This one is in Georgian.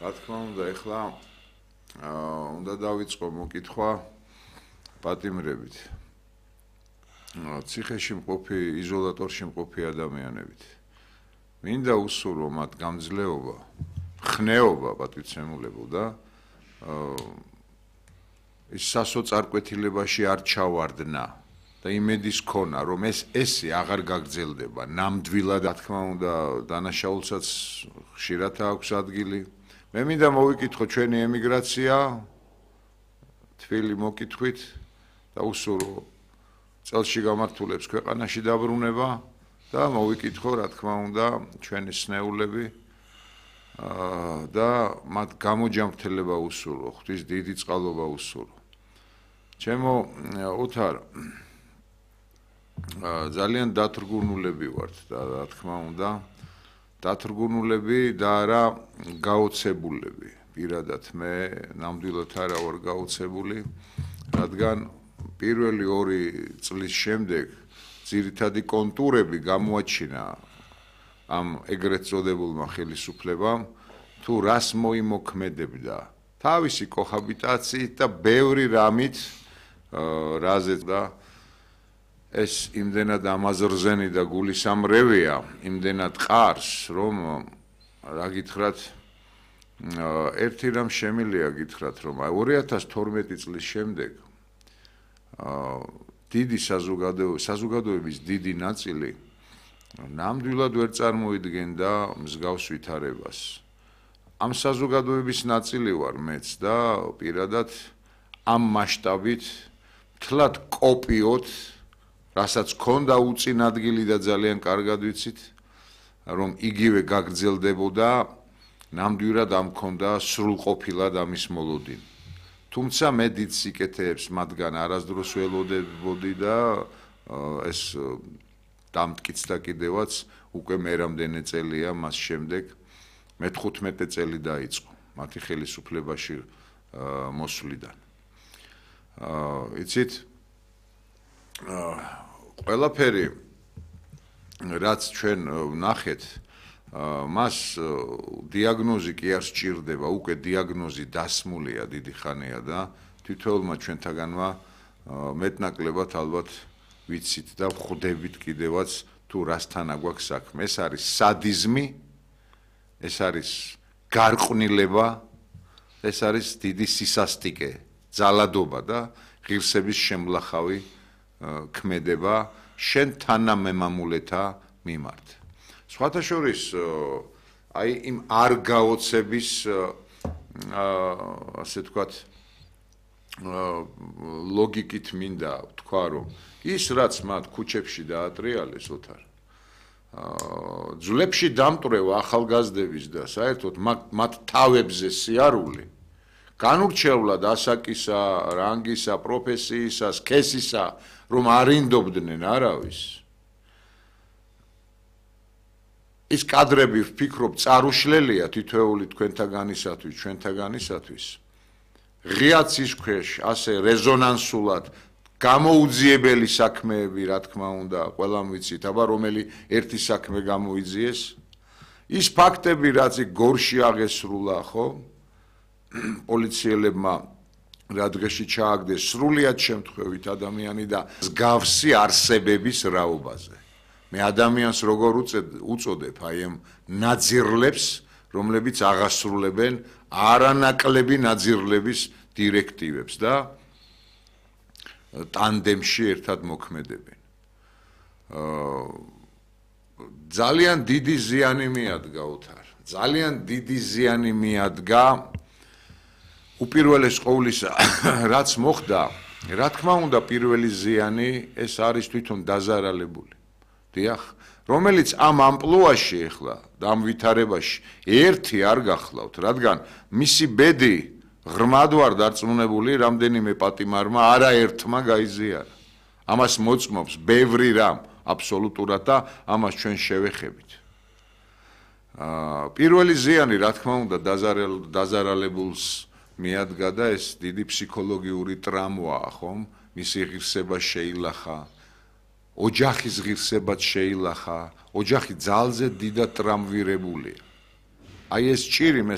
რა თქმა უნდა, ეხლა უნდა დავიწყო მოკითხვა პატიმრებით. ციხეში მყოფი, იზოლატორში მყოფი ადამიანებით. მინდა უსურვო მათ გამძლეობა, ხნეობა პატივცემულებო და ის სასოწარკვეთილებაში არ ჩავარდნა და იმედის ქონა, რომ ესე აღარ გაგრძელდება ნამდვილად, რა თქმა უნდა, დანაშაულსაც ხშირად აქვს ადგილი. მე მინდა მოვიკითხო ჩვენი ემიგრაცია, თბილი მოკითხვით და უსურვო წელში გამართულებს ქვეყანაში დაბრუნება და მოვიკითხო, რა თქმა უნდა, ჩვენი სნეულები და მათ გამოჯამრთელება უსურვო, ღვთის დიდი წყალობა უსურვო. ჩემო ოთარ, ძალიან დათრგუნულები ვართ და რა თქმა უნდა, დათრგუნულები და არა გაოცებულები. პირადად მე ნამდვილად არა ვარ გაოცებული, რადგან პირველი 2 წლის შემდეგ ძირითადი კონტურები გამოაჩინა ამ ეგრეთ წოდებულმა ხელისუფლებამ, თუ რას მოიმოქმედებდა თავისი კოჰაბიტაციით და ბევრი რამით, რაზეც და ეს იმდენად ამაზრზენი და გულისამრევია, იმდენად ყარს, რომ რა გითხრათ, ერთი რამ შემიძლია გითხრათ, რომ 2012 წლის შემდეგ დიდი საზოგადოების დიდი ნაწილი ნამდვილად ვერ წარმოიდგენდა მსგავს ვითარებას. ამ საზოგადოების ნაწილი ვარ მეც და პირადად ამ მასშტაბით მთლად კოპიოთ, რასაც ქონდა უწინ ადგილი და ძალიან კარგად ვიცით, რომ იგივე გაგრძელდებოდა, ნამდვილად ამ ქონდა სრულყოფილად ამის მოლოდინი. თუმცა მე დიდ სიკეთეებს მათგან არასდროს ველოდებოდი და ეს დამტკიცდა კიდევაც უკვე მე რამდენი წელია მას შემდეგ, მე 15 წელი დაიწყო მათი ხელისუფლებაში მოსვლიდან. იცით, ყველაფერი, რაც ჩვენ ვნახეთ, მას დიაგნოზი კი არ სჭირდება, უკვე დიაგნოზი დასმულია დიდი ხანია და თითოეულმა ჩვენთაგანმა მეტნაკლებად ალბათ ვიცით და ვხვდებით კიდევაც თუ რასთან აგვაქვს საქმე. ეს არის სადიზმი, ეს არის გარყვნილება, ეს არის დიდი სისასტიკე, ძალადობა და ღირსების შემლახავი ქმედება შენ თანამემამულეთა მიმართ. სხვათა შორის, აი იმ არ გაოცების, ასე ვთქვათ, ლოგიკით მინდა ვთქვა, რომ ის რაც მათ ქუჩებში დაატრიალეს, ოთარ, ძვლებში დამტვრევა ახალგაზრდების და საერთოდ მათ თავებზე სიარული, განურჩევლად ასაკისა, რანგისა, პროფესიისა, სქესისა, რომ არ ინდობდნენ არავის. ის კადრები ვფიქრობ წარუშლელია თითოეული თქვენთაგანისათვის, ჩვენთაგანისათვის. ღიაცის ქვეშ ასე რეზონანსულად გამოუძიებელი საქმეები, რა თქმა უნდა, ყველამ ვიცით, აბა რომელი ერთი საქმე გამოიძიეს. ის ფაქტები, რაც გორში აღესრულა, ხო? პოლიციელებმა რა დღეში ჩააგდეს სრულიად შემთხვევით ადამიანი და მსგავსი არსებების რაობაზე. მე ადამიანს როგორ უწოდებ აი ამ ნაძირლებს, რომლებიც აღასრულებენ არანაკლები ნაძირლების დირექტივებს და ტანდემში ერთად მოქმედებენ. ძალიან დიდი ზიანი მიადგა ოთარ, ძალიან დიდი ზიანი მიადგა უპირველეს ყოვლისა, რაც მოხდა, რა თქმა უნდა, პირველი ზიანი ეს არის თვითონ დაზარალებული. დიახ, რომელიც ამ ამპლუაში ახლა და ამ ვითარებაში ერთი არ გახლავთ, რადგან მისი ბედი ღრმად ვარ დარწმუნებული, რამდენიმე პატიმარმა არაერთმა გაიზიარა. ამას მოწმობს ბევრი რამ აბსოლუტურად და ამას ჩვენ შევეხებით. პირველი ზიანი, რა თქმა უნდა, დაზარალებულს მიადგა და ეს დიდი ფსიქოლოგიური ტრამვაა, ხომ? მისი ღირსება შეილახა. ოჯახის ღირსებაც შეილახა, ოჯახი ძალზე დიდად ტრამვირებულია. აი ეს ჭირი მე